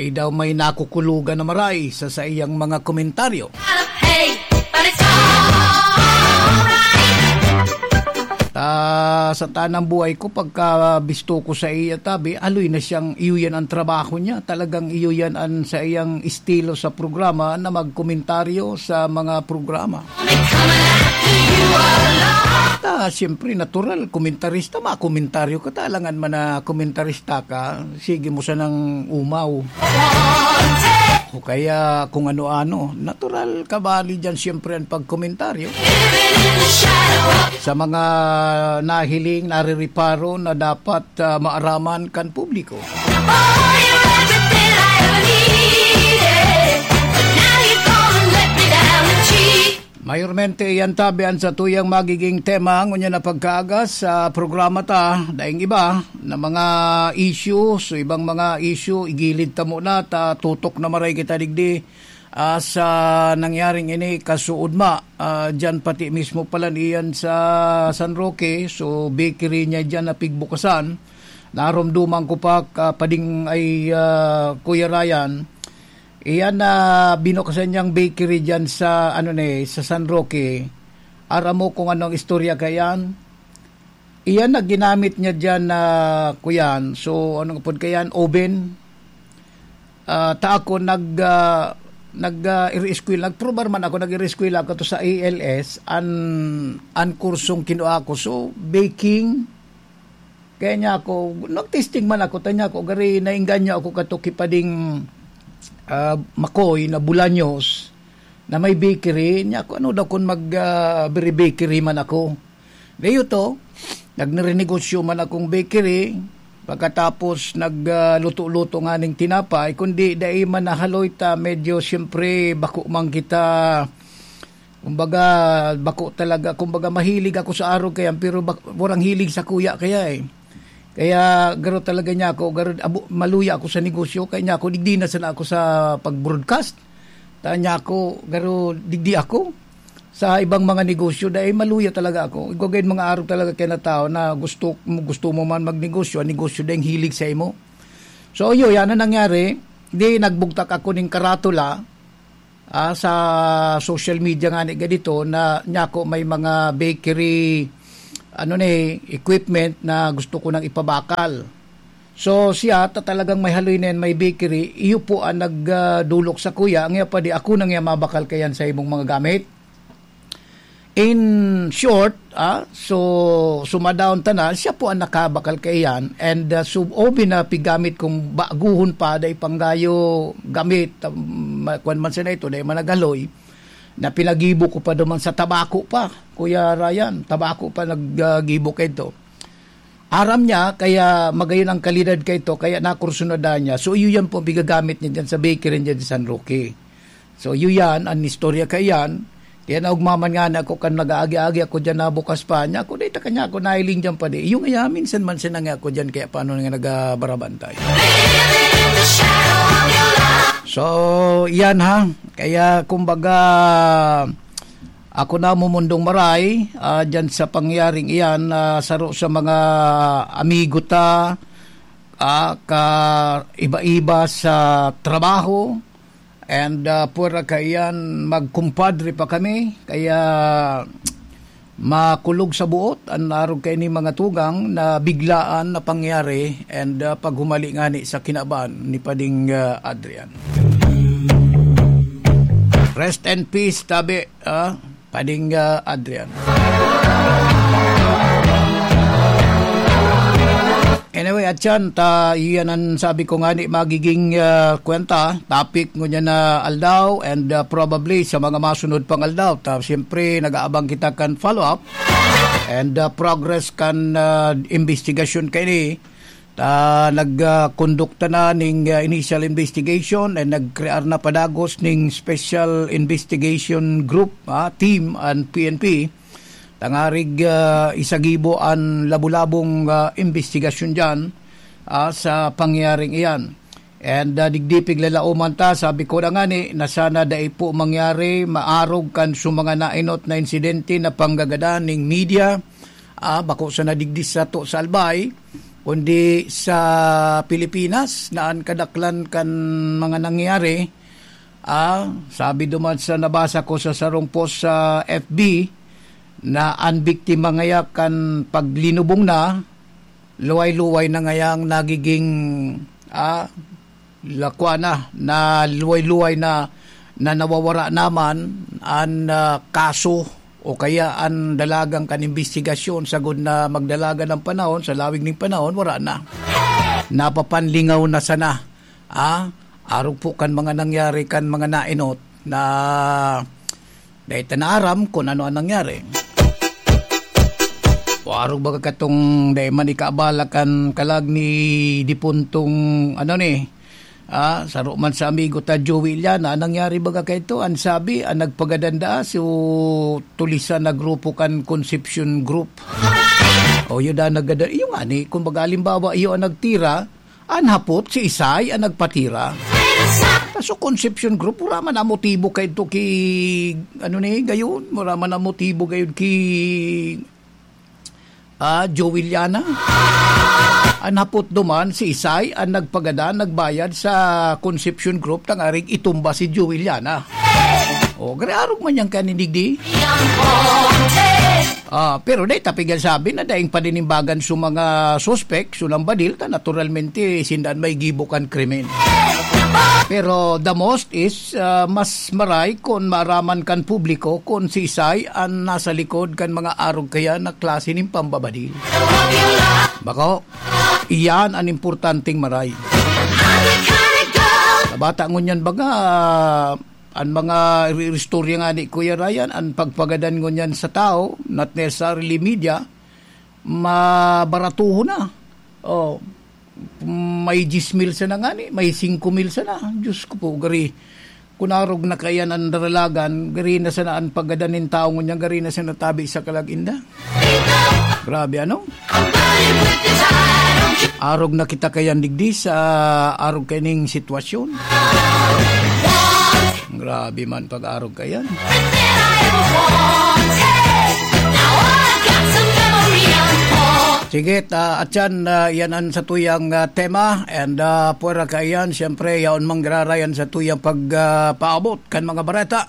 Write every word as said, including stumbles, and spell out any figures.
Ay daw may nakukulugan na maray sa saiyang mga komentaryo. Hey, but it's alright. Ta, sa tanang buhay ko, pagka bisto ko sa iya tabi, aloy na siyang iyo yan ang trabaho niya. Talagang iyo yan ang sa iyang estilo sa programa na magkomentaryo sa mga programa. Ta, siyempre, natural, komentarista, makomentaryo ka, talangan man na komentarista ka, sige mo sanang umaw. O kaya kung ano-ano. Natural, kabali dyan siyempre ang pagkomentaryo. Sa mga nahiling, narireparo na dapat, ah, maaraman kan publiko. Mayormente, iyan tabi an satuyang magiging tema ngunyan na pagkaaga sa programa ta. Daing iba na mga issue, so ibang mga issue, igilid ta muna, ta tutok na maray kita digdi, ah, sa nangyaring ini kasuodma. Ah, dyan pati mismo pala niyan sa San Roque, so bakery niya dyan na pigbukasan. Naromduman ko pa, ah, pading ay, ah, Kuya Ryan, iyan na binukasan niyang bakery diyan sa, ano ni, sa San Roque. Aram mo kung anong istorya kaiyan? Iyan na ginamit niya diyan na, kuyan. So, anong apod kaiyan? Oven. Ah, ta ako nag, ah, nag, ah, iri-eskwela, nagprobar man ako, nag-iri-eskwela ako to sa A L S, an, an kursong kinua ko. So, baking, kaya niya ako, nag-testing man ako, ta niya ako, gari naengganyo ako kato ki pading, ah, Makoy na Bolaños, na may bakery. Niya ako, ano daw kun mag, ah, biri bakery man ako. Dayo to, nagnirenegosyo man akong bakery, pagkatapos nag, ah, luto-luto nganing tinapay, kundi dai man nahaloy ta, medyo siyempre bako man kita, kumbaga, bako talaga, kumbaga, mahilig ako sa arog kaiyan, pero bak-, walang hilig sa kuya kaya eh. Kaya garo talaga niya ako, garo, abo, maluya ako sa negosyo, kaya niya ako, digdi na sana ako sa pag-broadcast. Ta niya ako, garo, digdi ako sa ibang mga negosyo, dahil maluya talaga ako. Igwa gayud mga arog talaga kaya na tao na gusto, gusto mo man magnegosyo, ang negosyo dahil hilig sa imo. So, yun, yan ang nangyari. Di, nagbugtak ako ning karatula, ah, sa social media nga ni ganito na niya ako may mga bakery, ano ni, equipment na gusto ko nang ipabakal. So, siya, ta talagang may haloy na yan, may bakery, iyo po ang nag, ah, dulok sa kuya, ang iya pa di, ako nang iya mabakal kayan sa imong mga gamit. In short, ah, so, sumadaon ta na, siya po ang nakabakal kaiyan, and, ah, so, obi na pigamit kung baguhon pa, dai panggayo gamit, ah, ma-, kwan man siya na ito, dai man nagaloy, na pinagibo ko pa duman sa tabako pa, Kuya Ryan, tabako pa nag, ah, gibo kaito. Aram niya, kaya magayon ang kalidad kaito, kaya nakursunada niya. So, iyo yan po ang pigagamit niya dyan sa bakery niya di San Roque. So, iyo yan, ang istorya kaiyan. Kaya naugmaman nga na ako kan nag-aagi-agi ako dyan na bukas pa niya. Ako, dahil kanya ako nailing dyan pa di. Iyo nga, minsan man siya na nga ako dyan, kaya paano nga nagabarabantay. So, yan ha. Kaya, kumbaga, ako na mumundong maray, ah, dyan sa pangyaring iyan, ah, saro sa mga amigo ta, ah, ka iba-iba sa trabaho, and, ah, pwera kaiyan magkumpadre pa kami, kaya makulog sa buot an arog kaini mga tugang na biglaan na pangyari, and, ah, paghumali ngani sa kinaban ni Pading, ah, Adrian. Rest in peace, tabi. Ah, Pading, ah, Adrian. Anyway, Atyan, ta, iyan ang sabi ko nga ni magiging, ah, kwenta, topic ngunyan na aldaw, and, ah, probably sa mga masunod pang aldaw. Ta, siyempre, nag-aabang kita kan follow-up and, ah, progress kan, ah, investigasyon kaini. Ta, nag, ah, kondukta na ning, ah, initial investigation and nagkrear na padagos ning special investigation group, ah, team an P N P. Tangarig, ah, isagibo an labo-labong, ah, investigasyon diyan, ah, sa pangyayaring iyan. And, ah, digdi piglalaoman ta, sabi ko na ngani, na sana dai po mangyari, maarog kan sumanga nainot na insidente na panggagadan ning media, ah, bako sana digdi sato sa Albay, kundi sa Pilipinas na an kadaklan kan mga nangyari, ah, sabi duman sa nabasa ko sa sarong post sa F B, na an biktima ngaya kan paglinubong na, luway-luway na ngayang nagiging, ah, lakwa na, na luway-luway na, na nawawara naman an, ah, kaso o kaya an dalagan kan imbestigasyon. Sagod na magdalagan ang panahon, sa lawig ning panahon, wara na. Napapanlingaw na sana. Ah, arog po kan mga nangyari kan mga naenot na dai ta naaram kun ano an nangyari. O arog baga katong dai man ikaabala kan kalag ni dipuntong, ano ni, ah, saro man sa amigo ta Joey Iliana, an nangyari baga kaito, an sabi, an nagpagadan daa so tulisan na grupo kan Concepcion Group. O, iyo daa nagada-, iyo ngani, kumbaga, halimbawa, iyo an nagtira, an hapot, si Isay an nagpatira. Ta so Concepcion Group, wala man an motibo kaidto ki, ano ni, gayon, wala man an motibo gayon ki, ah, Joey Iliana. An hapot duman, si Isay an nagpagadan, nagbayad sa Concepcion Group, tangaring itumba si Joey Iliana. O, gari arog man yan kaninigdi. Ah, pero dai ta pigyan sabi na daing paninimbagan sa mga suspek, sa nambadil, ta naturalmente, sinda an may gibo kan krimen. Pero the most is, ah, mas maray kun maaraman kan publiko kun si Isay an nasa likod kan mga arog kaya na klase nin pambabadil. Bako, iyan an importanteng maray. Sa bata ngunyan baga, an mga ri-, istorya nga ni Kuya Ryan, an pagpagadan ngunyan sa tao, not necessarily media, mabaratuhon na. Oh, may diyes mil sana ngani, may singko mil sana. Diyos ko po, gari. Kun arog na kaiyan an daralagan, gari na sana an paggadan nin tawo ngunyan, gari na sana tabi sa kalag-inda. Grabe, ano? Arog na kita kaiyan digdi sa arog kaining sitwasyon. Grabe man pag-arog kaiyan. Sige, ta, atyan, ah, yan an satuyang, ah, tema. And, ah, pwera kaiyan, siyempre, yaon manggararay an satuyang pag, ah, paabot kan mga bareta.